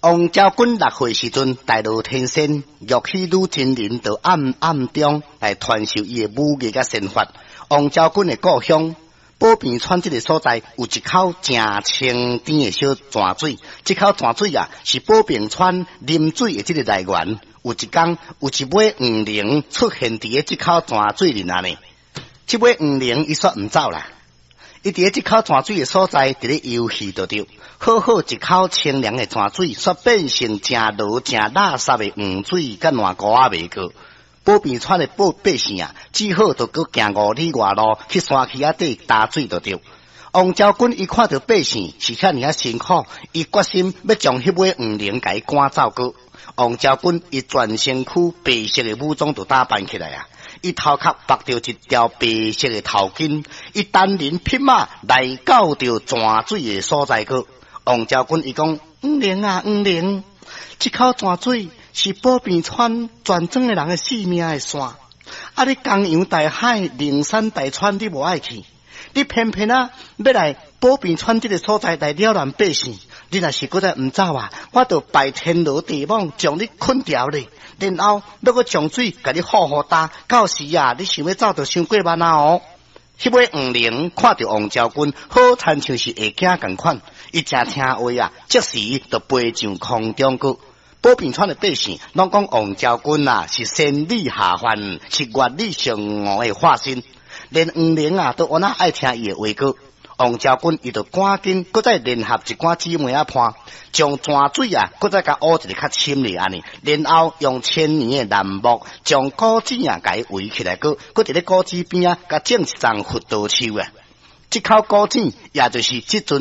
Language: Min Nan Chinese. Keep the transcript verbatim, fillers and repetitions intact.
王昭君六歲時陣，大羅天仙玉羲女真人就暗暗中來傳授伊的武藝佮仙法。王昭君的故鄉寶瓶川這个所在，有一口誠清甜的小泉水。這口泉水啊，是寶瓶川啉水的這个來源。有一天，有一尾黃龍出現佇咧這口泉水裡內呢。這尾黃龍伊煞毋走啦，伊佇咧這口泉水的所在，佇咧遊戲就對。好好一口清涼的泉水，煞變成誠濁、誠垃圾的黃水，佮爛糊仔袂過。寶瓶川的百百姓啊，只好就閣行五里外路去山區仔底擔水就對。王昭君伊看著百姓是遐爾仔辛苦，伊決心欲將彼尾黃龍共伊趕走閣。王昭君伊全身軀白色的武裝就打扮起來啊！伊頭殼縛著一條白色的頭巾，伊單人匹馬來到著泉水的所在閣。王昭君伊講：黃龍啊，黃龍，這口泉水是寶瓶川全庄的人的性命的線。啊！你江洋大海、靈山大川，你無愛去，你偏偏啊欲來寶瓶川這个所在來擾亂百姓。你若是閣再毋走啊，我就拜天羅地網將你睏牢咧，然後欲閣將水共你好好擔。到時啊，你想欲走就傷過慢啊哦！彼尾黃龍看著王昭君，好親像是會驚仝款，伊誠聽話啊，即時就飛上空中閣。寶瓶川的百姓攏講王昭君啊是仙女下凡，是月女嫦娥的化身，連黃龍啊都按那愛聽伊的話閣。王昭君伊就趕緊閣再聯合一寡姊妹仔伴，將泉水啊閣再共挖一个較深咧按呢，然後用千年的楠木將古井啊共伊圍起來，閣閣佇咧古井邊仔共種一叢佛陀樹啊。這口古井也就是這陣。